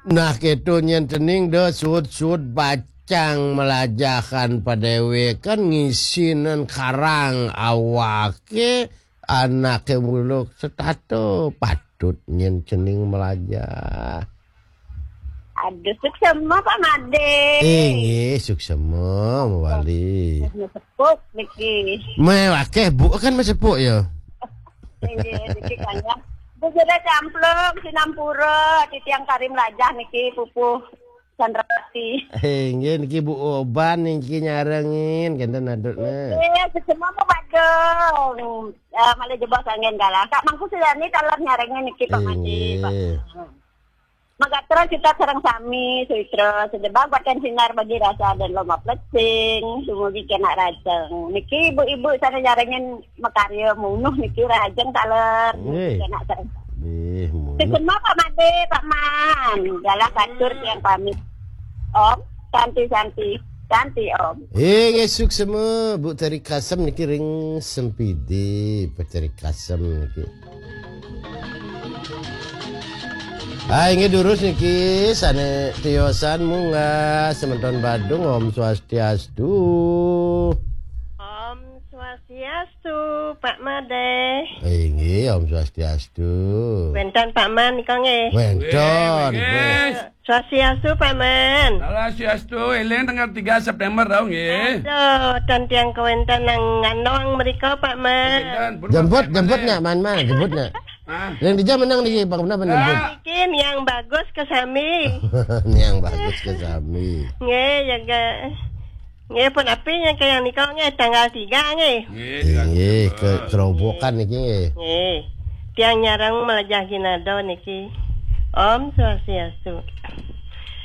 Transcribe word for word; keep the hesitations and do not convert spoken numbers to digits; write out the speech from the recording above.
Nah, kéto nyén cening da suud-suud bacang melajahan padéwékan ngisinin karang awaké, anaké muluk setata patut nyén cening melajah. Aduh, suksema, Pak Madé. Inggih, suksema, mawali. Sepuk niki. Mé wakéh, Bu, kan masepuk ya. Inggih, niki kaya. Bu Jeda Camplung, sinampura, titiang kari melajah niki, pupuh Chandrawati. Inggih, niki Bu Oban niki nyarengin, kénten adutna. Inggih, suksema, Bu Badung. Eh, malih jebos anggén galah. Kak Mangku Sujani taler nyarengin niki, Pak Madé, Pak. Inggih. Magatra kita sareng sami, suitra, sedebag batin sinar bagi rasa dan lomba plesing, dumugi kenak rajeng. Niki ibu-ibu sané nyarengin makarya munuh niki rajeng taler, dumugi Nggih. Kenak sareng sami. Nggih, munuh. Suksema Pak Madé, Pak Man. Galah katur tiang pamit. Om, santi, santi. Santi, Om. Inggih, suksema, Bu Tari Kasem niki ring Sempidi, Bu Tari Kasem niki. Ah, inggih durus niki, sané tiosan munggah semeton Badung, Om Swastiastu. Om Swastiastu, Pak Madé. Inggih, Om Swastiastu. Wénten Pak Man nika nggih. Wénten, Nggih, nggih. Nggih. Swastiastu, Pak Man. Swastiastu, éling tanggal tiga September tau nggih. Aduh, ten tiang kawénten nang Nganong mrika, Pak Man. Wénten, pun Jemput, Pak jemput Man. Nak, Man, Man, jemput nak. Ah. Yang di jam menang niki, Pak, menapa jemput? Ah. Niki yang bagus ke sami. Yang bagus ke sami. Nggih, ya, ga. Nggih, pun api yang ke yang nika nggih tanggal tiga nggih. Nggih, tanggal Inggih, tiga. Ke kerobokan niki nggih. Nggih. Tiang nyareng melajah ginado niki. Om Swastiastu.